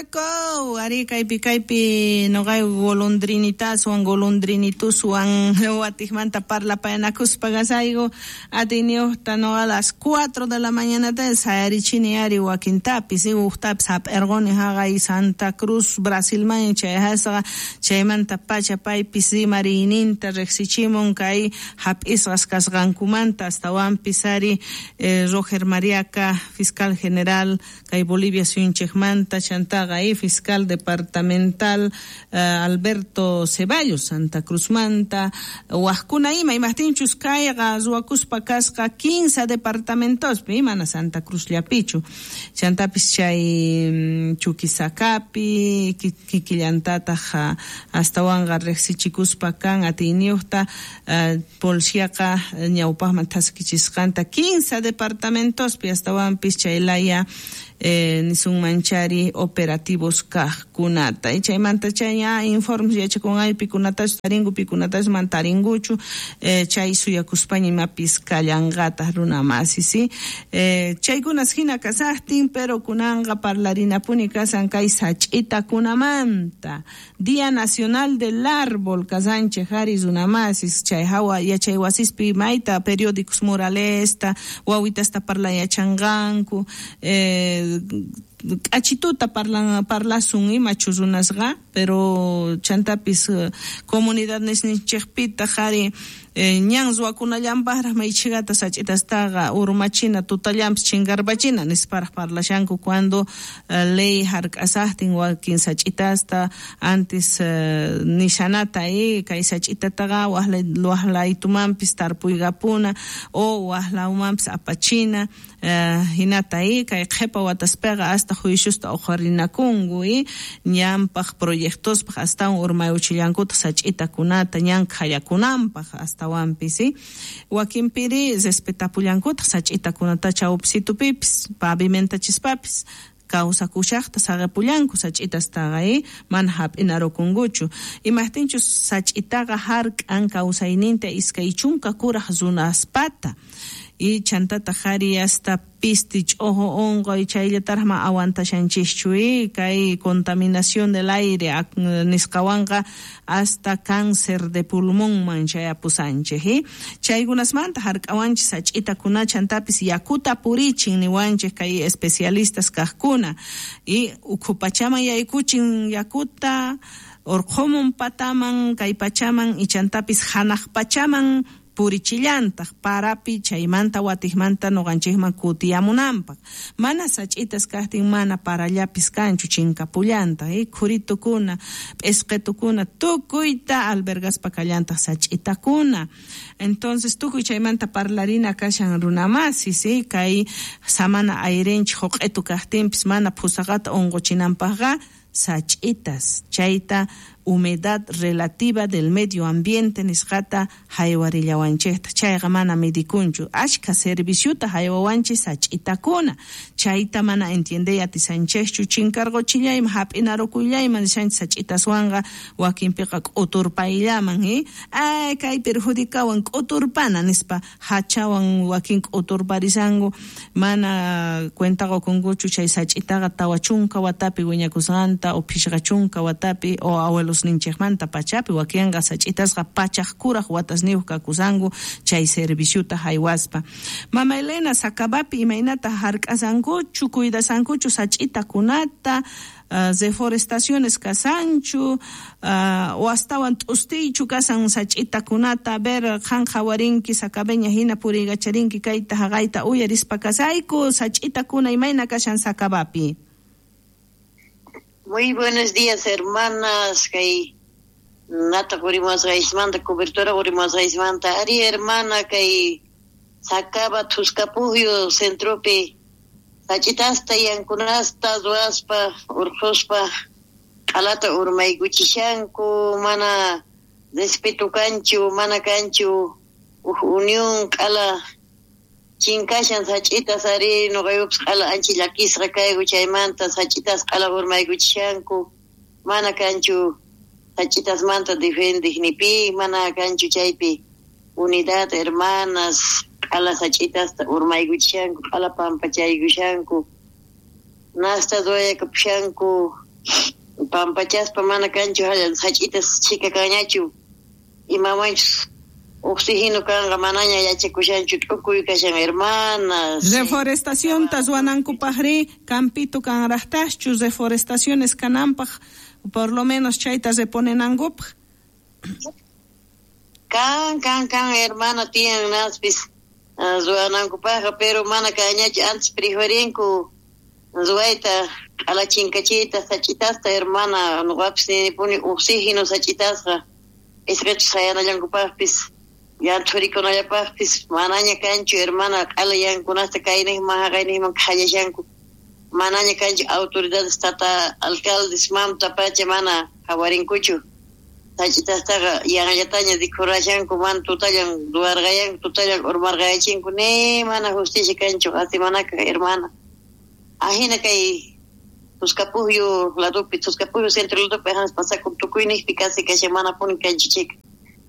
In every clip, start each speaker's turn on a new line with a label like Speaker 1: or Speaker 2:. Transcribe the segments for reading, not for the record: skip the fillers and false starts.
Speaker 1: Punto Ari kaypi kaypi noqay golondrinitaswan golondrinituswan watikmanta parlapayanakuspa kasayku atiyniyuqta noqa las 4 de la mañanata sayarichini ari wakintapis uqtapis hap'irquni haqay Santa Cruz Brasilman chayasqa chaymanta pacha paypis rimariyninta riqsichimun kay hap'isqas kasqankumanta astawanpis ari Roger Mariaca fiscal general kay Bolivia suyunchikmanta chantaqa y fiscal departamental Alberto Ceballos Santa Cruzmanta waqkuna ima imaqtinchus kayqa ruwakuspa kasqa 15 departamentospi mana Santa Cruzllapichu chantapis chay Chuquisacapi kikillantataq astawanqa riqsichikuspa kan atiyniyuqta policiaqa ñawpaqman thaskichisqanta 15 departamentospi astawanpis chay laya nisunmanchari operativos kaqkunata chaymanta chay ña informes yachakunay pikunatachu tarinku pikunatachu mana tarinkuchu chay suyakuspaña imapis kallanqataq runa masi si chaykunas hina kasaqtin pero kunanqa parlarinapuni kasan kay sach'itakunamanta Día Nacional del Árbol kasanchej ari runa masis chay hawa yachay wasispi mayta periódicos muralesta wawitasta parlayachanqanku k'achituta parlasun imachu runasqa pero chantapis comunidad nisninchikpitaq ari ñan ruwakunallanpaqraq maychikata sach'itastaqa urmachina tutallanpis chinkarpachina nisparaq parlashanku cuando ley hark'asaqtin wakin sach'itasta antes nishanata kay sach'itataqa waqlaytumanpis tarpuykapuna o waqlawmanpis apachina hinata kay qhipa wataspiqa hasta juiciusta uqharinakunku ñanpaq proyectospaq astawan urmayuchillankutaq sach'itakunata ñan khallakunanpaq astawanpis wakinpiri respetapullankutaq sach'itakunata chawpisitupipis pavimentachisapis kawsakushaqta saqipullanku sach'itastaqa mana hap'inarukunkuchu imaqtinchus sach'itaqa hark'an kawsayninta 20 kuraq runaspata y chantataq ari hasta pisti ch'ojo unquy chayllataraq mana aguantashanchikchu kay contaminación del aire nisqawanqa hasta cáncer de pulmonman chayapusanchik chaykunasmanta hark'awanchik sach'itakuna chantapis yakuta purichin niwanchik kay especialistas kaqkuna y ukhu pachaman yaykuchin yakuta urqhumun pataman kay pachaman y chantapis hanaq pachaman purichillantaq parapi chaymanta watikmanta nuqanchikman kutiyamunanpaq mana sach'itas kaqtin mana parallapis kanchu chinkapullantaq khuritukuna p'isqitukuna tukuyta albergaspa kallantaq sach'itakuna entonces tukuy chaymanta parlarina kashan runamasi si kay samana ayrinchik huq'itu kaqtinpis mana phusaqata unquchinanpaqqa sach'itas chayta humedad relativa del medio ambiente nisqata haywarillawanchikta chayqa mana midikunchu ashka serviciuta haywawanchik sach'itakuna chayta mana entiendey atisanchikchu chinkarquchillayman hap'inarukuyllaman nishanchik sach'itaswanqa wakinpiqa k'uturpayllaman ay kay perjudicawan k'uturpana nispa hachawan wakin k'uturparisanku mana cuenta qukunkuchu chay sach'itaqa 40 watapi wiñakusqanta o 50 watapi o abuelo ninchikmanta pachapi wakinqa sach'itasqa pachaq kuraq watasniyuq kakusanku chay serviciuta haywaspa. Mama Elena Sakabapi imaynata hark'asankuchu cuidasankuchu sach'itakunata reforestaciones kasanchu o astawan t'ustiychu kasan sach'itakunata ver qan qhawarinki Sakabeña hina puriykacharinki kayta haqayta uyarispa kasayku sach'itakuna imayna kashan Sakabapi.
Speaker 2: Muy buenos días, hermanas. Kay nata qurimuwasqaysmanta, cobertura qurimuwasqaysmanta. Ari, hermana, kay Sacaba Thuscapujio centropi sach'itasta yankunasta ruwaspa urqhuspa q'alata urmaykuchishanku, mana respeto kanchu, mana kanchu uj unión q'ala chinkashan sach'itas ari nuqayupis q'ala ancha llakisqa kayku chaymanta sach'itas q'ala urmaykuchishanku, mana kanchu sach'itasmanta defendiq ni pi, mana kanchu chaypi unidad hermanas q'ala sach'itasta urmaykuchishanku, q'ala pampachaykushanku, nasta ruwayakapushanku. Pampachaspa mana kanchu sach'itas chhika kanñachu imamanchus oxígeno kanqa manaña yachakushanchu t'ukuy kashan hermanas.
Speaker 1: Reforestacionta ruwanankupaqri campito kanraqtaschu reforestaciones kananpaq por lo menos chayta reponenankupaq.
Speaker 2: Kan hermana tiyan naspis ruwanankupaqqa pero mana kanñachu antes preferinku ruwayta q'alachinkachiyta sach'itasta hermana nuqapis ninipuni oxígeno sach'itasqa isqachus sayanallankupaqpis yanthurikunallapaqpis manaña kanchu hermana q'ala yankunasta kayniqman haqayniqman qhallashanku manaña kanchu autoridades tata alcaldes mamta pacha mana qhawarinkuchu sach'itastaqa yanllataña rikhurashanku mana tutallan ruwarqayanku tutallan urmarqayachinku ni mana justicia kanchu qasimanaka hermana ajina kay Tuscapujyo ladopi Tuscapujyo centro ladopi ajanas pasakun tukuyniqpi casi kashan manapuni kanchu chika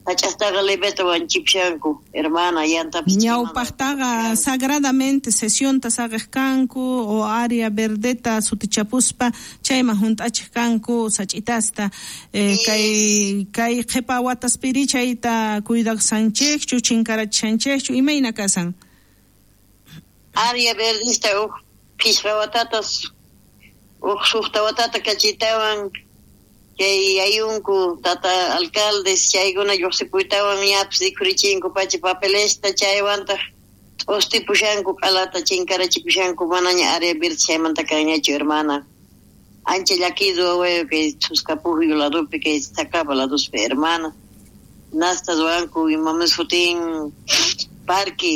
Speaker 2: sach'astaqa leveta wanchipshanku hermana yantapis
Speaker 1: ñawpaqtaqa sagradamente sesionta saqej kanku o área verdeta sutichapuspa chayman hunt'achiq kanku sach'itasta kay qhipa wataspiri chayta cuidaqsanchikchu chinkarachishanchikchu imayna kasan
Speaker 2: área verdista uj phishqa watatas uj suqta watata kachitawan chay ayunku tata alcaldes chaykuna lluqsipuytawan ñapis rikhurichinku pacha papelesta chaywantaq t'ustipushanku q'alata chinkarachipushanku manaña área verde chaymanta kanñachu hermana ancha llakidu wawayu kay Tuscapujyo ladopi kay Sacaba ladospi hermana nasta ruwanku imamis sutin parque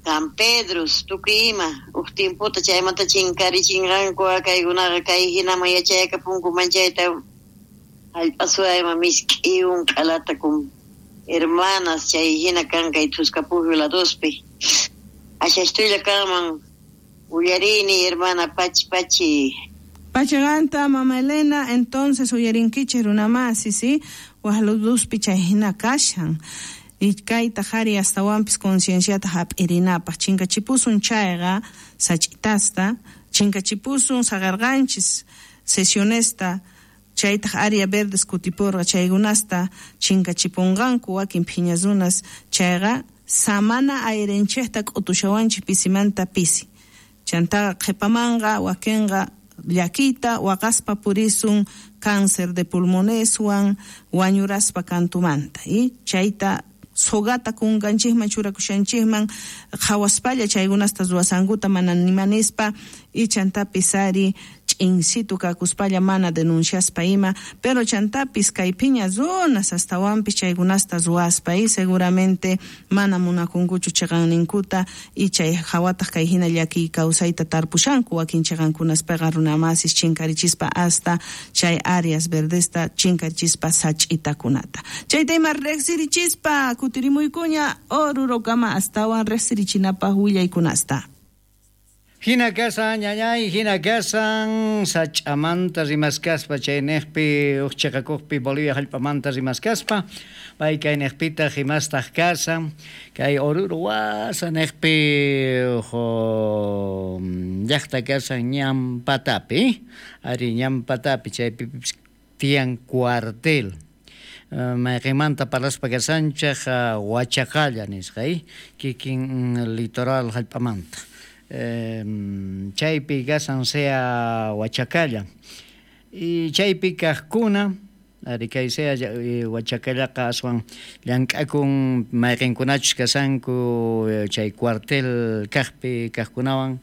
Speaker 2: San Pedro tukuy ima uj tiempota chaymanta chinkarichinqanku kaykunaqa kay hinaman yachayakapunku manchayta hallp'asuayma misk'iwan q'alata kun hermanas chay hina kan kay Tuscapujyo ladospi ashashtulla kanman uyarini hermana pachi pachi
Speaker 1: Pachaganta mama Elena entonces uyarinkichik runamasi ¿sí? Waj ladospi chay hina kashan y kayta qhari astawanpis concienciata hap'irinapaq chinkachipusun chayqa sach'itasta chinkachipusun saqarqanchis sesionesta chaytaq área verdes kutipurqa chaykunasta chinkachipunqanku wakin phiña runas chayqa samana airenchikta k'utushawanchik pisimanta pisi chantaqa qhipamanqa wakinqa llakita waqaspa purisun cáncer de pulmoneswan wañuraspa kantumanta y chayta sogata kunkanchikman churakushanchikman qhawaspalla chaykunasta ruwasankuta mana nimanispa y chantapis ari ch'insitu kakuspalla mana denunciaspa ima pero chantapis kay phiña runas astawanpis chaykunasta ruwaspa y seguramente mana munakunkuchu chiqanninkuta y chay hawataq kay hina llakiy kawsayta tarpushanku wakin chiqankunaspaqa runamasis chinkarichispa hasta chay áreas verdesta chinkarichispa sach'itakunata chayta ima riqsirichispa kutirimuykuña Orurokama astawan riqsirichinapaq willaykunasta.
Speaker 3: Hina kasan ñañay, hina kasan sach'amanta rimaskaspa chayniqpi uj chiqakuqpi Bolivia hallp'amanta rimaskaspa pay kayniqpitaq imastaq kasan kay Oruro wasaniqpi uj llaqta kasan ñampatapi ari ñampatapi chaypipis tiyan cuartel mayqinmanta parlaspa kasanchaq Huachacalla nisqa kikin litoral hallp'amanta chaypi kasan sea Huachacalla y chaypi kaqkuna ari kay sea Huachacallaqa aswan llank'akun mayqinkunachus kasanku chay cuartel kaqpi kaqkunawan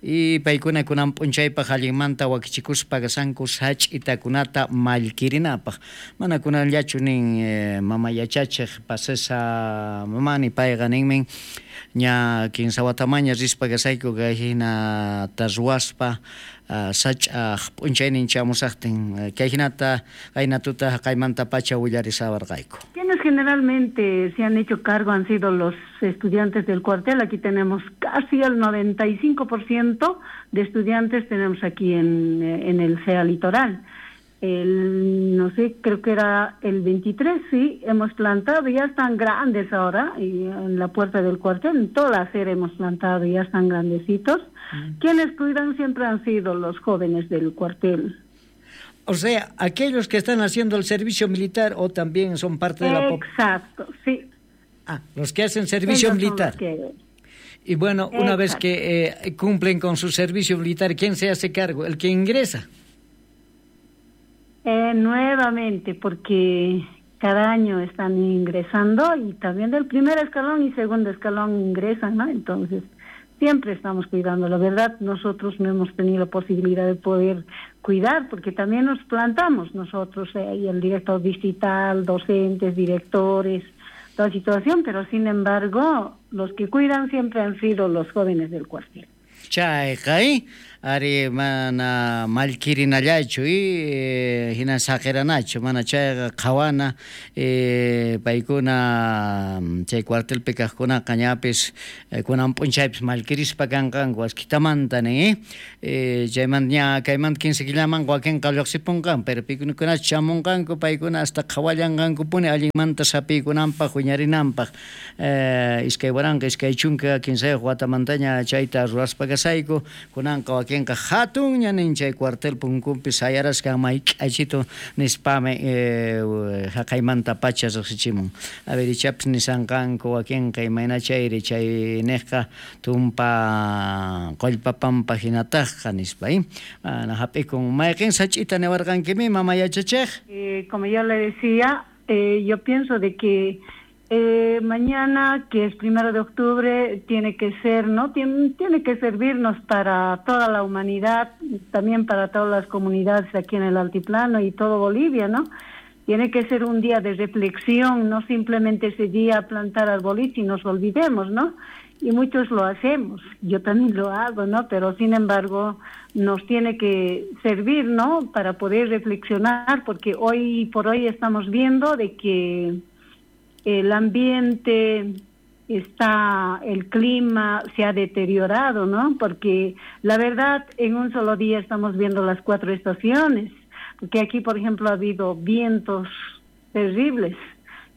Speaker 3: y paykuna kunan p'unchaypaq allinmanta wakichikuspa kasanku sach'itakunata mallkirinapaq mana kunanllachu nin mama yachachiq pasesa mamani payqa ninmin ña kinsa watamaña rispa kasayku kay hinata ruwaspa sach'aq p'unchaynin chamusaqtin kay hinata qaynatuta haqaymantapacha willarisawarqayku.
Speaker 4: Quienes generalmente se han hecho cargo han sido los estudiantes del cuartel. Aquí tenemos casi el 95% de estudiantes tenemos aquí en el CEA Litoral. No sé, creo que era el 23, sí, hemos plantado, ya están grandes ahora, y en la puerta del cuartel, en toda la acera hemos plantado, ya están grandecitos. Quienes cuidan siempre han sido los jóvenes del cuartel.
Speaker 3: O sea, aquellos que están haciendo el servicio militar o también son parte de la
Speaker 4: Exacto, sí.
Speaker 3: Ah, los que hacen servicio
Speaker 4: Ellos son
Speaker 3: militar.
Speaker 4: los que-
Speaker 3: Y bueno, una vez
Speaker 4: Exacto.
Speaker 3: que cumplen con su servicio militar, ¿quién se hace cargo? El que ingresa.
Speaker 4: Nuevamente, porque cada año están ingresando y también del primer escalón y segundo escalón ingresan, ¿no? Entonces, siempre estamos cuidando. La verdad, nosotros no hemos tenido posibilidad de poder cuidar, porque también nos plantamos nosotros, y el director distrital, docentes, directores, toda situación, pero sin embargo, los que cuidan siempre han sido los jóvenes del cuartel.
Speaker 3: Chayqa, ari mana mallkirinallachu hina saqiranachu, mana chayqa qhawana, paykuna chay cuartelpi kaqkunaqa ñapis kunan p'unchaypis mallkirispa kanqanku askitamanta nin, chaymanta ña kaymanta 15 killaman wakinqa lluqsipunqan, pero pikunachu chamunqanku paykuna hasta qhawallanqankupuni allinmanta sapiykunanpaq wiñarinanpaq. 2023 watamantaña chayta ruwaspa kasayku, kunanqa wakinqa hatunña nin chay cuartel punkunpi sayaraskan mayk'achitu nispami haqaymanta pacha riqsichimun. A ver, ichapis nisanqanku wakinqa imayna chayri chay niqqa tumpa qullpapampa hinataqqa nispa, Mana hap'ikun mayqin sach'ita niwarqankimi mama yachachiq?
Speaker 4: Como yo le decía, yo pienso de que mañana, que es 1 de octubre, tiene que ser, ¿no? Tiene que servirnos para toda la humanidad, también para todas las comunidades aquí en el altiplano y todo Bolivia, ¿no? Tiene que ser un día de reflexión, no simplemente ese día plantar arbolitos y nos olvidemos, ¿no? Y muchos lo hacemos, yo también lo hago, ¿no? Pero sin embargo nos tiene que servir, ¿no? Para poder reflexionar, porque hoy por hoy estamos viendo de que el ambiente está, el clima se ha deteriorado, ¿no? Porque la verdad, en un solo día estamos viendo las 4 estaciones, porque aquí, por ejemplo, ha habido vientos terribles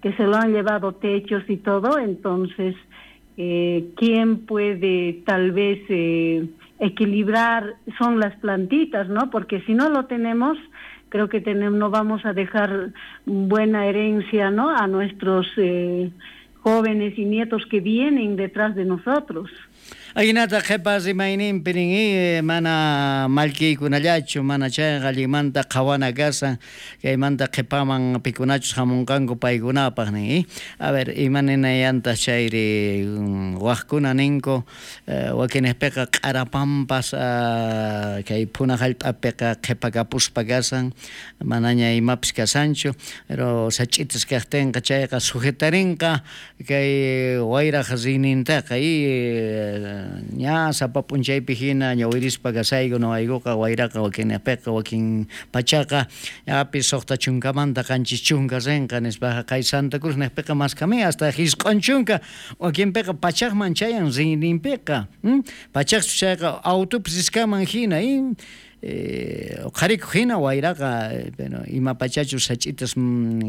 Speaker 4: que se lo han llevado techos y todo, entonces, ¿quién puede tal vez equilibrar? Son las plantitas, ¿no? Porque si no lo tenemos, creo que no vamos a dejar buena herencia, ¿no?, a nuestros jóvenes y nietos que vienen detrás de nosotros.
Speaker 3: Ahinata qhipa rimayninpi nin, mana mallkiykunallachu, mana chayqa allinmanta qhawana kasan, kaymanta qhipaman pikunachus hamunqanku paykunapaq nin. A ver, ima ninayantaq chayri waqkuna ninku, wakinejpiqa q'arapampas kay phuna hallp'apiqa qhipakapuspa kasan, manaña imapis kasanchu, pero sach'itas kaqtinqa chayqa sujetarinqa kay wayraq riynintaqa, ña sapa p'unchaypi hina ñawirispa kasayku noqaykuqa wayraqa wakinejpiqa wakin pachaqa ñapis 60 70 rinqa nispaqa kay Santa Cruz nejpiqa maskami hasta 90 wakinpiqa pachaqman chayan riyninpiqa, pachaqchu chayqa autopis riskanman hina, qharikuq hina wayraqa, pero ima pachachus sach'itas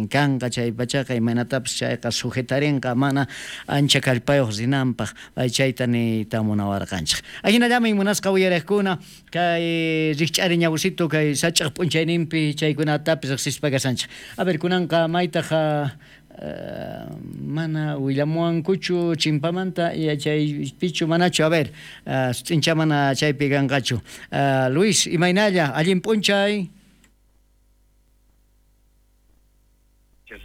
Speaker 3: kanqa chay pachaqa imaynatapis chayqa sujetarinqa mana ancha kallpayuq rinanpaq, pay chayta niyta munawarqanchik. Ahinallami munasqa uyariqkuna kay rikch'ari ñawsito kay sach'aq p'unchayninpi chaykunatapis riqsispa kasanchik. A ver, kunanqa maytaq mana willamuwankuchu chimpamanta yachaypichu manachu, a ver, sut'incha mana chaypi kanqachu. Luis, imaynalla, allin p'unchay.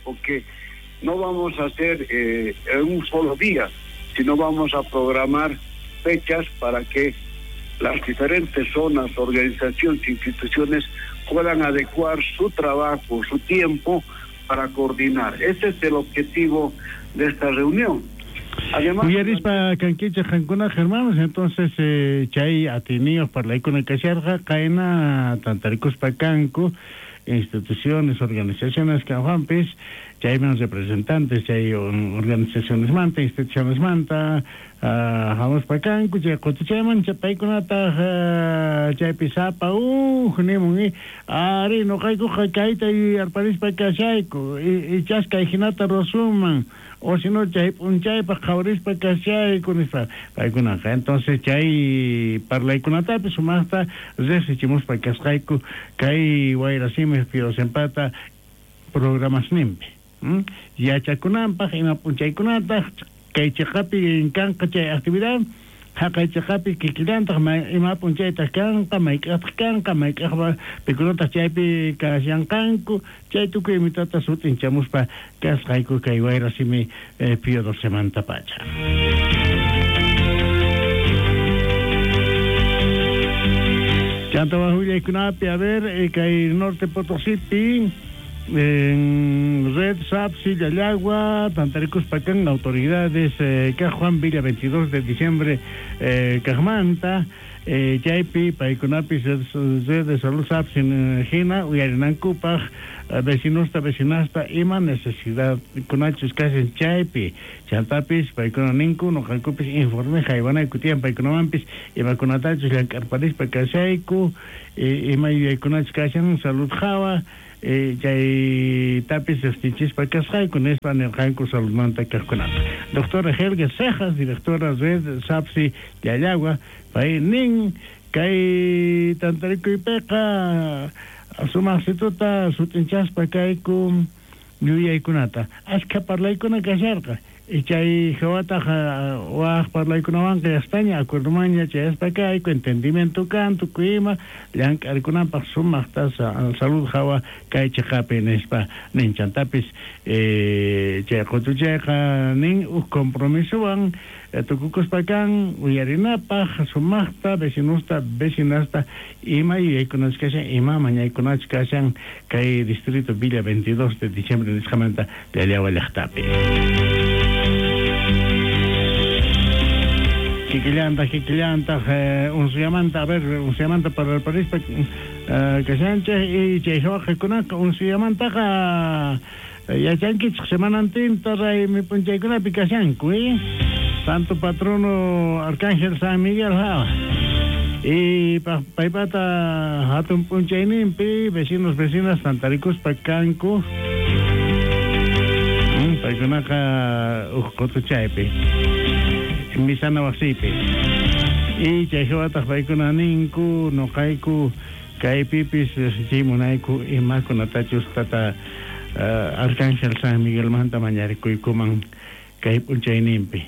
Speaker 5: Porque no vamos a hacer en un solo día, sino vamos a programar fechas para que las diferentes zonas, organizaciones, instituciones puedan adecuar su trabajo, su tiempo para coordinar. Ese es el objetivo de esta reunión. Además,
Speaker 6: uyarispa kankichej qankuna hermanos, entonces chay atinios parlaykuna kasharqa qayna tantarikuspa kanku instituciones, organizaciones kanjuanpis, chayman representantes, chay organizaciones manta, instituciones manta, hamuspa kanku, chay qotuchayman, paykunataj chaypi sapa uj nimun, ari noqaykuqa kayta yuyarparispa kashayku, ichas kay hinata ruwasunman, o si no chay p'unchaypaq qhawarispa kashayku nispa paykunaqa. Entonces chay parlaykunatapis sumaqta riqsichimuspa kasqayku kay Wayrasimi Piosempata programasninpi. Yachakunanpaq ima p'unchaykunataq kay chiqapi kanqa chay actividad, haqay chiqapi kikillantaq ima p'unchaytaq kanqa, mayk'aqtaq kanqa, mayk'aqpa pikunataq chaypi kashanqanku, chay tukuy imitata sut'inchamuspa kasqayku kay Wayrasimi Pío XII pacha. Chanta wajullaykunapi, a ver, kay Norte Potosípi, en Red Sapsi, Llallagua, Tantaricuspa kan autoridades, Juan Villa 22 de diciembre, Cajmanta, chaypi, paykunapis, Red de Salud Sapsi, Gina, Uyarinankupaj, vecinosta, vecinasta, ima necesidad, kunachus kashan chaypi, chantapis, paykuna ninku, noqankupis, informe, jaywanayku tiyan, paykunamanpis, imakunatachus llank'arparispa kashayku, ima yuyaykunachus kashan, salud jawa, chay tapis estichispa kasqayku nispa nirqanku saludmanta kaqkunata. Doctora Helga Cejas, directora Red Sapsi Llallagua, pay nin kay tantarikuypiqa sumaqsituta sut'inchaspa kayku yuyaykunata. Ashkha parlaykuna kasharqa. Chay hawataq waj parlaykunawanqa yastaña acuerdomanña chayaspa kayku entendimiento kan tukuy ima llank'arkunapaq sumaqta salud hawa kay chiqapi nispa nin chantapis chay qutuchayqa nin uj compromisowan tukukuspa kan uyarinapaq sumaqta vecinosta vecinasta ima yuyaykunachus kashan ima mañaykunachus kashan kay distrito Villa 22 de diciembre nisqamanta Llallagua llaqtapi. Kikillantaq unsuyamanta, a ver, unsuyamanta parlarparispa kashanchej y chay hawaqikunaqa unsuyamantaqa yachankichej semanantinta raymi p'unchaykunapi kashanku, Santo Patrono Arcángel San Miguel hawa. Y paypata hatun p'unchayninpi vecinos vecinas tantarikuspa kanku paykunaqa uj qutuchaypi misana wasipi. Y chay hawataq paykuna ninku noqayku kaypipis riqsichimunayku imakunatachus tata Arcángel San Miguelmanta mañarikuykuman kay p'unchayninpi.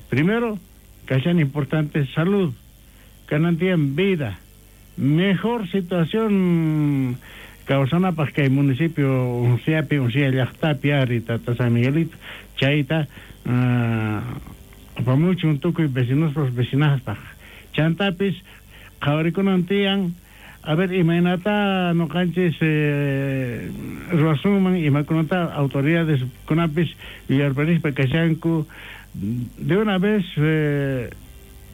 Speaker 6: Primero, kashan importante salud, kanan tiyan vida, mejor situación kawsanapaq kay municipio Unciapi, Uncia llaqtapi ari tata San Miguelito, chayta apamuchun tukuy vecinospas vecinaspaq. Chantapis qhawarikunan tiyan, a ver, imaynata noqanchis ruwasunman imakunata autoridades kunapis yuyarparispa kashanku de una vez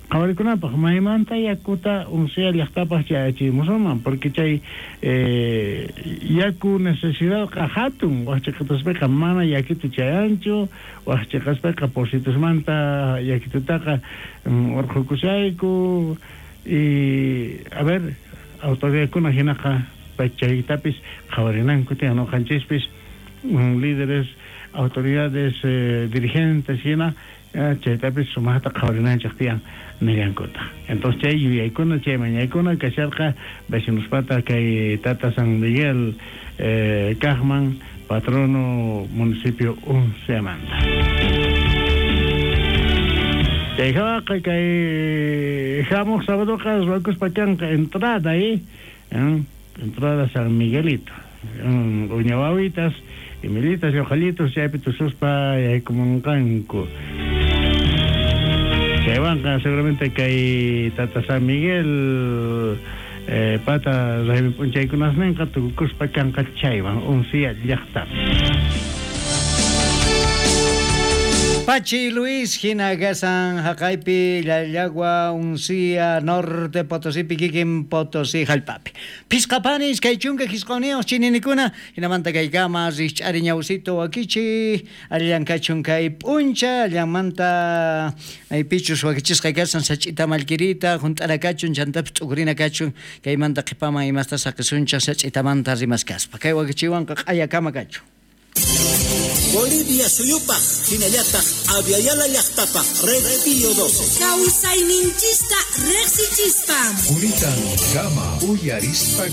Speaker 6: qhawarikunapaq maymanta yakuta Uncia llaqtapaq chayachimusunman, porque chay yaku necesidadqa hatun, wajchiqataspiqa mana yakitu chayanchu, wajchiqaspiqa positusmanta yakitutaqa urqhukushayku y a ver, autoridadkuna hinaqa chaytapis qhawarinanku tiyan noqanchispis líderes, autoridades, dirigentes hina chaytapis sumaqta qhawarinanchik tiyan nillankuta. Entonces chay yuyaykuna, chay mañaykuna kasharqa vecinospata kay tata San Miguel kaqman patrono municipio Unciamanta. Chay hawaqa kay hamuq sabadoqa ruwakuspa kanqa entrada entrada San Miguelito, uñawawitas, imilitas, yoqallitos chaypi tususpa yaykumunqanku. Chaywanqa seguramente kay tata San Miguel pata raymi p'unchaykunasninqa tukukuspa kanqa chaywan Uncia llaqtapi.
Speaker 3: Pachi Luis hina gasan haqaypi Llallagua Uncía Norte Potosípi kikin Potosí hallp'api. Phisqapani 25 chininikuna hinamanta kaykama rikch'ari ñawsito wakichi allillan kachun kay p'uncha allanmanta maypichus wakichisqa kasan sach'ita mallkirita hunt'ara kachun chantapis t'ukurina kachun kaymanta qhipaman imasta saqisunchaq sach'itamanta rimaskaspa kay wakichiwanqa q'ayakama kachun.
Speaker 7: Bolivia suyupaj hinallataq Aviala llaqtapaj Red Pío 12.
Speaker 8: Kawsayninchista riqsichispa.
Speaker 9: Kunitan kama uyarispa.